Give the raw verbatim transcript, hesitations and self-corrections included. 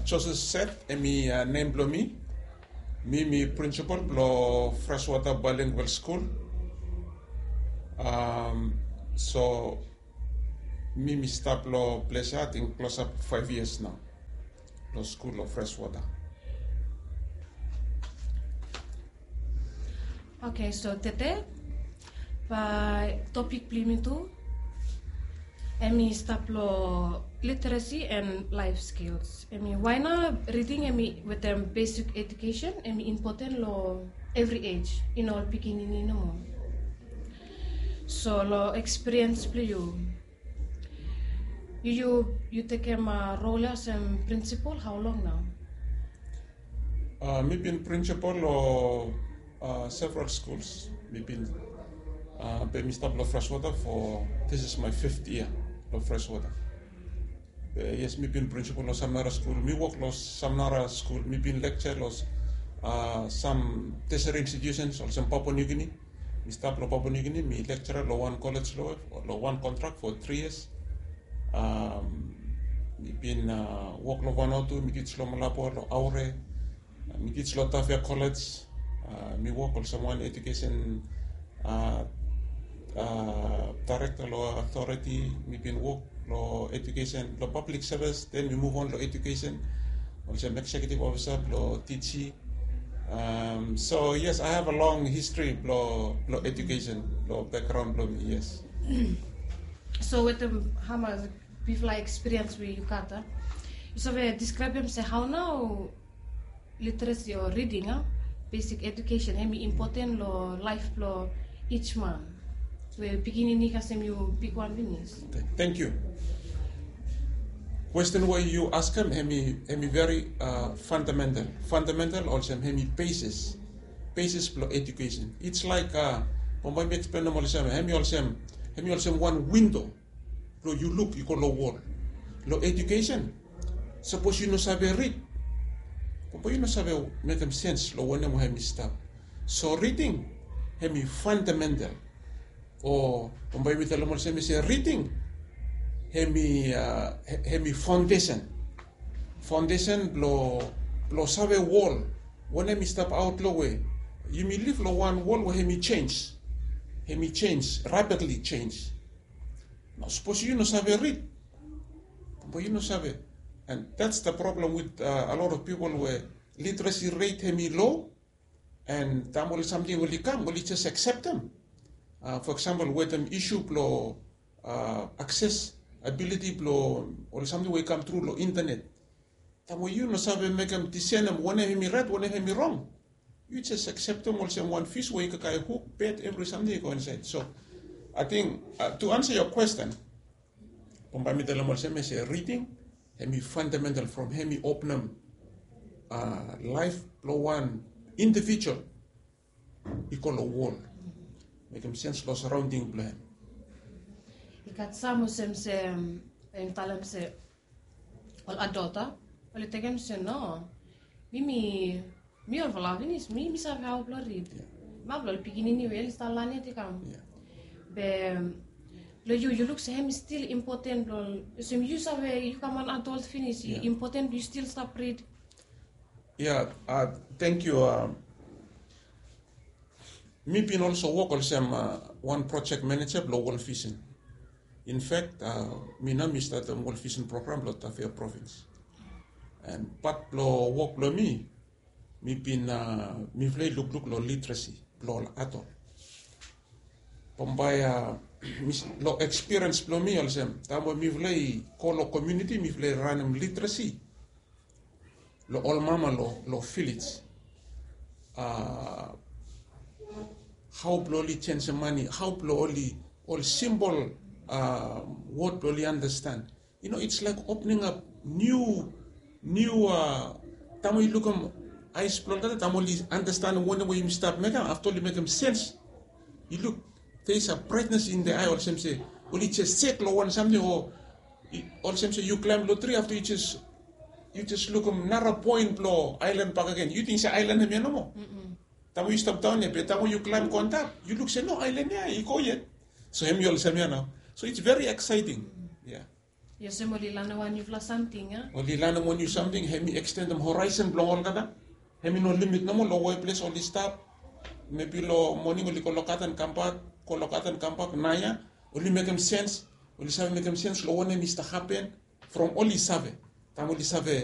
Joseph Seth, hemi nem blong mi. Mi, mi principal blong Freshwater Bilingual School. So mi, mi stap long ples ya ating klosap faev yias nao long skul long Freshwater. Oke, so tede bae topik blong yumi tu hemi stap long literacy and life skills. Hemi wae nao riding hemi wetem besik ejukesen hemi impoten long evri ej, i no ol pikinini nomo. So long ekspiriens blong yu, yu yu tekem rol ya olsem prinsipal hao long nao? Mi bin principal long several schools. Mi bin, be mi stap long Freshwater for, this is my fifth year long Freshwater. Be yes, mi bin principal long sam nara skul. Mi wok long sam nara skul. Mi bin lecture long sam tertiary institutions olsem Papua New Guinea. Mi stap long Papua New Guinea, mi lecturer long wan college long, long wan contract for three years. Mi bin wok long Vanuatu, mi teach long Malabo, long Aure. Mi teach long Tafea College. Mi wok olsem wan education director long authority. Mi bin wok long education, long public service, then mi move on long education olsem executive officer blong T G. So yes, I have a long history blong education, long background blong mi, yes. So wetem hamas bifala ekspiriens we yu gat, yu save diskraebem se hao nao literacy o riding, a, besik ejukesen hemi impoten long laef blong ij man we pikinini kasem yu bigwan finis? Thank you. Kwesten we yu askem hemi veri fundamental. Fundamental olsem hemi basis, basis blong ejukesen. It's like, bambae mi eksplenem olsem hemi olsem, hemi olsem wan windo blong yu luk i go long wol. Long ejukesen, sapos yu no save rid, bambae yu no save mekem sens long wanem we hemi stap. So riding hemi fundamental. O bambae mi talem olsem se riding hemi, hemi faondesen. Faondesen blong, blong save wol, wanem i stap aot long we yumi liv long wan wol we hemi jenis. Hemi jenis, rapidly jenis. Nao sapos yu no save rid, bambae yu no save. And that's the problem with a lot of people we literacy rate hemi low. And taem ol samting oli kam, oli jes akseptem. For example, wetem isu blong akses, abiliti blong ol samting we i kam tru long internet. Taem we yu no save mekem disenem wanem hemi raet, wanem hemi rong, yu jes akseptem olsem wan fis we i kakae huk, bed, evri samting i go insaed. So ating, to answer your question, bambae mi talem olsem se riding hemi fundamental from hemi openem laef blong wan individual i go long wol, mekem sens long saraonding blong hem. I gat sam olsem se, bae mi talem se ol adot, a, oli tekem se no, mi, mi, mi olfala finis, mi, mi save hao blong rid. Map long ol pikinini we oli stap lanem yet i kam. Be long yu, yu luk se hemi stil impoten blong, olsem yu save, yu kam wan adot finis, i impoten blong yu stil stap rid? Ya, thank you. Mi bin also wok olsem wan project manager blong World Vision. In fact, mi nao mi statem World Vision program long Tafea Province. And pat blong wok blong mi, mi bin, mifala i lukluk long literacy blong ol adot. Bambae long ekspiriens blong mi olsem, taem we mifala i go long komuniti, mifala i ranem literacy long ol mama long, long vilej. Hao blong oli jenisem mane, hao blong oli, ol simpol wod blong oli andastan. You know, it's like opening up new, new, taem we yu lukim aes blong olgeta, taem oli andastanem wanem we yumi stap mekem, afta oli mekem sens. Yu luk, there is a brightness in the eye, olsem se oli jes sek long wan samting, o olsem se yu klaem long tri, afta yu jes, yu jes lukim nara poen blong aelan bakegen. Yu ting se aelan hemia nomo. Taem we yu stap daon ya, be taem we yu klaem go antap, yu luk se no, aelan ya i go yet. So hemi olsem ya nao. So it's very exciting. Ya. Yes, em oli lanem wan niufala samting a. Oli lanem wan niu samting, hem i ekstendem horaisen blong olgeta. Hem i no limit nomo long we ples oli stap. Mebi long moning oli go lokata an kambak, go lokata an kambak naia. Oli mekem sens, oli save mekem sens long wanem i stap hapen. From oli save, taem oli save